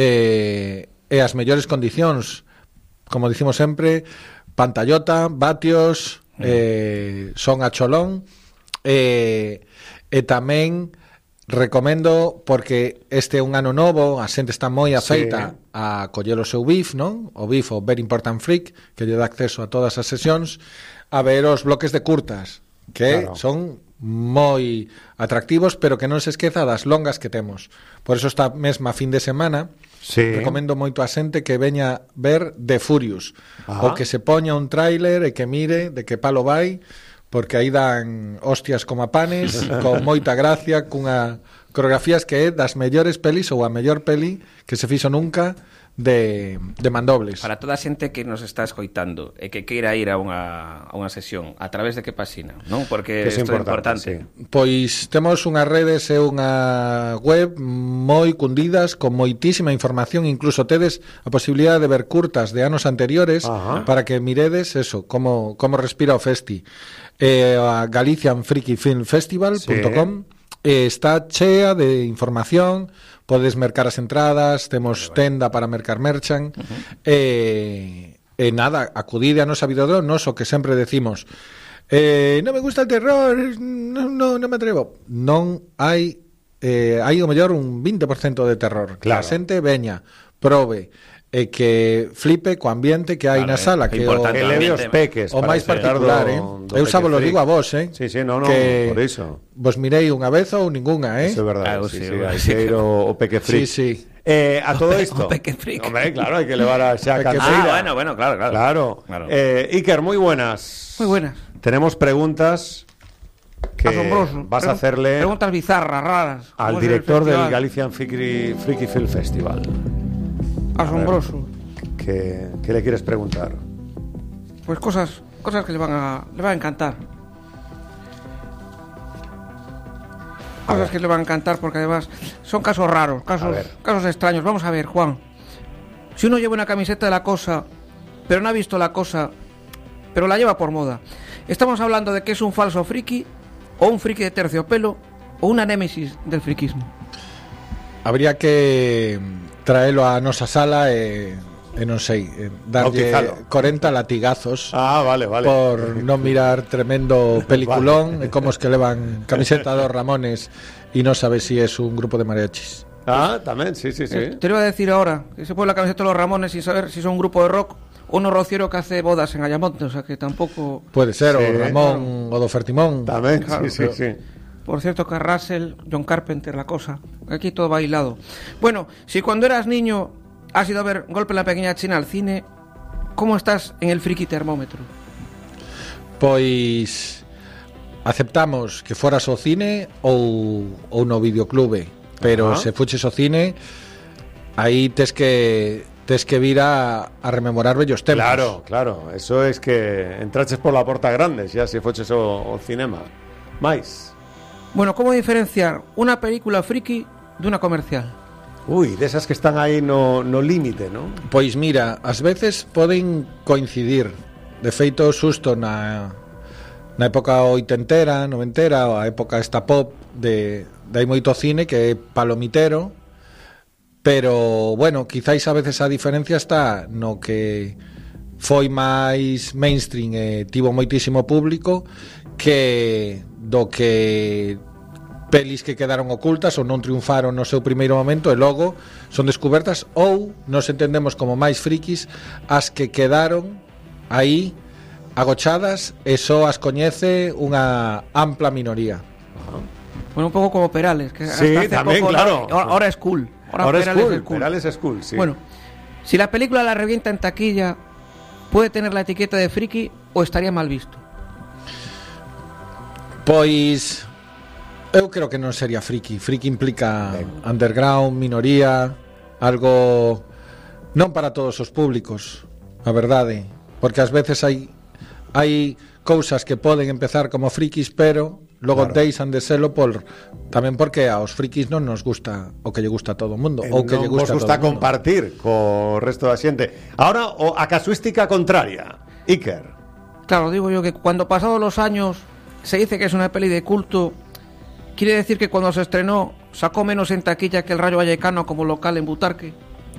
e as mellores condicións, como dicimos sempre, pantallota, vatios, son a cholón, e tamén recomendo, porque este é un ano novo, a xente está moi afeita a coller o seu BIF, non? O BIF, o Very Important Freak, que lle dá acceso a todas as sesións, a ver os bloques de curtas, que son moi atractivos, pero que non se esqueza das longas que temos. Por eso esta mesma fin de semana recomendo moito a xente que veña ver The Furious, ou que se poña un tráiler e que mire de que palo vai, porque aí dan hostias como a panes, con moita gracia, cunha coreografías que é das mellores pelis, ou a mellor peli que se fixo nunca de mandobles. Para toda a xente que nos está escoitando e que queira ir a unha sesión, a través de que pasina, non? Porque isto é importante. Pois temos unhas redes e unha web moi cundidas, con moitísima información, incluso tedes a posibilidade de ver curtas de anos anteriores para que miredes eso, como respira o festi. A GalicianFreakyFilmFestival.com está chea de información, podes mercar as entradas, temos tenda para mercar merchan, e nada, acudide a nosa Videodrome, o que sempre decimos, non me gusta el terror, non me atrevo. Non hai o mellor un 20% de terror. Que a xente veña, probe, e que flipe co ambiente que hai na sala, que leve os peques, o máis particular, eu xa vos lo digo a vos, que por iso vos mirei unha vez ou ningunha, Eso é verdade, hai que ir o peque freak. A todo isto, hombre, claro, hai que levar a xa canseira. Bueno, claro. Iker, moi buenas. Muy buenas. Tenemos preguntas que asombroso. Vas a hacerle preguntas bizarras, raras, al director del Galician Freaky Film Festival. Asombroso. ¿Qué le quieres preguntar? Pues cosas que le van a encantar. Cosas que le van a encantar, porque además son casos raros, casos extraños. Vamos a ver, Juan. Si uno lleva una camiseta de La Cosa, pero no ha visto La Cosa, pero la lleva por moda, ¿estamos hablando de que es un falso friki, o un friki de terciopelo, o una némesis del friquismo? Habría que traelo a nosa sala e non sei, darlle 40 latigazos vale. por non mirar tremendo peliculón e como os que levan camiseta dos Ramones e non sabe si es un grupo de mariachis. Tamén, sí. Te lo iba a decir ahora, que se pone la camiseta de los Ramones sin saber si son un grupo de rock o un rociero que hace bodas en Ayamonte, o sea que tampoco... Puede ser, o Ramón o do Fertimón. Tamén, claro, sí. Por cierto que Russell, John Carpenter, La Cosa, aquí todo bailado. Bueno, si cuando eras niño has ido a ver Golpe en la Pequeña China al cine, ¿cómo estás en el friki termómetro? Pois aceptamos que foras ao cine ou no videoclube, pero se fuches ao cine, aí tes que vir a rememorar bellos tempos. Claro, eso es que entraches por la porta grande, xa se foches ao cinema. Mais bueno, ¿cómo diferenciar una película friki de una comercial? De esas que están aí no límite, ¿no? Pois mira, ás veces poden coincidir. De feito, xusto na época oitentera, noventera, a época esta pop de hai moito cine que é palomitero, pero, bueno, quizáis a veces a diferencia está no que foi máis mainstream e tivo moitísimo público que do que pelis que quedaron ocultas ou non triunfaron no seu primeiro momento e logo son descubertas, ou nos entendemos como máis frikis as que quedaron aí agochadas e só as coñece unha ampla minoría. Bueno, un pouco como Perales, que sí, tamén, poco, claro. Ahora es cool. Ahora es cool. Perales es cool, sí. Bueno, si la película la revienta en taquilla, ¿puede tener la etiqueta de friki o estaría mal visto? Pois eu creo que non sería friki. Friki implica underground, minoría, algo non para todos os públicos, a verdade, porque ás veces hai cousas que poden empezar como frikis, pero logo deixan de selo tamén porque aos frikis non nos gusta o que lle gusta a todo o mundo, ou que lle gusta a todo o mundo. Compartir co resto da xente. Ahora, a casuística contraria, Iker. Claro, digo yo que cuando pasados los años se dice que es una peli de culto, quiere decir que cuando se estrenó sacó menos en taquilla que El Rayo Vallecano como local en Butarque.